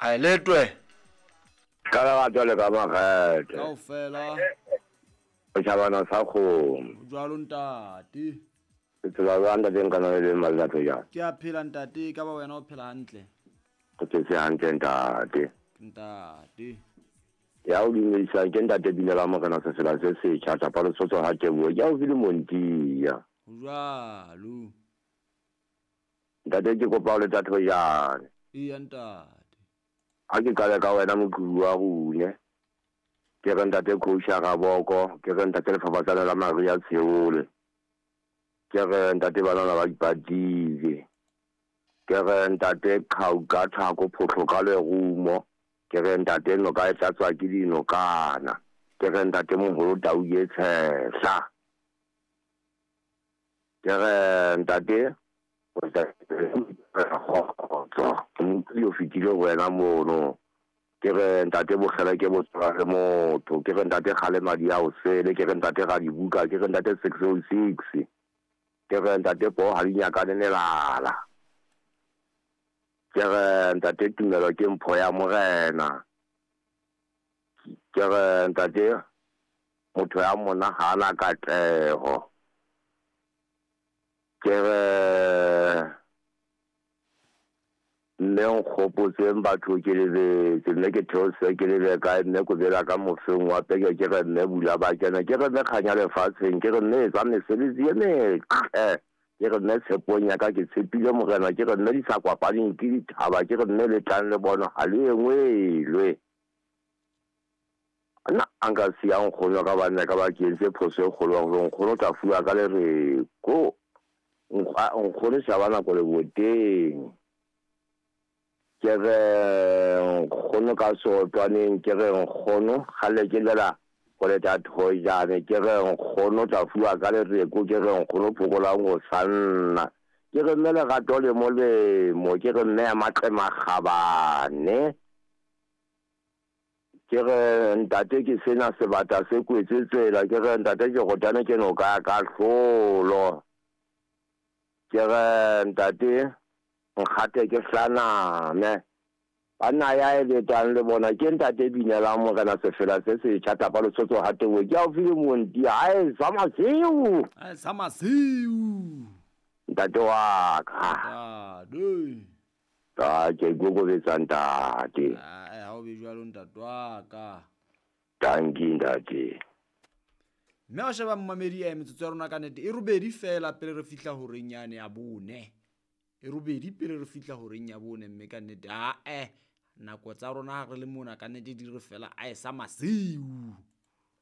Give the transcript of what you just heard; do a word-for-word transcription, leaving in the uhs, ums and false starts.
A letwe. Ka lerato le ka makgethe. Kaofela. O tjhabana sa kgomo. O jwalo ntate. Ke tsela jwang ntate nka na le malatso jang? Ke a phela ntate, ka ba wena o phela hantle. Ke phetse hantle ntate. Ntate. Ya o dumedisang ke ntate Binela Morena Sefela se setjha tapa Lesotho ha Teboho. Ke haufi le Montia. Ho jwalo. Ntate ke kopa o le Thatoyane. Eya ntate. Ha ke qale ka wena moqhubu wa rune. Ke re ntate Coach Raboko, ke re ntate Lefafatsane la Maria Tsheole. Ke re ntate banana ba ipatile. Ke re ntate Khauka Thako Photlo ka lerumo. Ke re ntate noka e tlatswa ke dinokana. Ke re ntate moholo tau e tshehla. Ke re ntate o kgotso. Motho o fetile ho wena mono. Ke re ntate bokgele ke botswa le motho. Ke re ntate kgale madi a o sele. Ke re ntate ga dibuka. Ke re ntate six oh six. Ke re ntate po ha di nyakane melala. Ke re ntate tumelo ke mpho ya morena. Ke re ntate motho ya mona ha ana katleho. Ke re mme nkgopotseng batho ke lebetse, mme ke theose ke lebe kae, mme ko bela ka mofeng wa peke, ke re mme bula ba kena, ke re mme kganya lefatsheng, ke re mme etsa mesebetsi e metle, ke re mme tshepong ya ka ke tshepile morena, ke re mme di sa kwapaneng ke dithaba, ke re mme le tlang le bona ha le engwelwe. Nna a nka siya nkgono ka banna ka ba ke entse phoso e kgolo ya hore nkgono o tla fuwa ka lereko. Nkgono shaba nako leboteng. Ke re nkgono ka seotwaneng, ke re nkgono kgale ke lela go leta Thojane, ke re nkgono tla fuwa ka lereko, ke re nkgono phokolang go sanna, ke re mme lerato le molemo, ke re mme ya matle makgabane, ke re ntate ke sena sebata se kwetse tsela, ke re ntate ke rotane ke noka ya kahlolo, ke re ntate nkgate ke hlaname. Banna ya e letang le bona ke ntate Binela Morena Sefela se setjha tapa Lesotho ha Teboho. Ke haufi le Montia. Ae sa masiu. Ae sa masiu. Ntate wa ka. Ntate. Ta ke ikokobetsa ntate. Ae ha o be jwalo ntate wa ka. Tanki ntate. Mme wa sheba mmamedi ya metsotso ya rona ka nnete e robedi fela pele re fihla horeng yane ya bone. E robedi pele re fihla horeng ya bone, mme ka nnete ae nako tsa rona ha re le mona ka nnete di re fela ae sa masiu.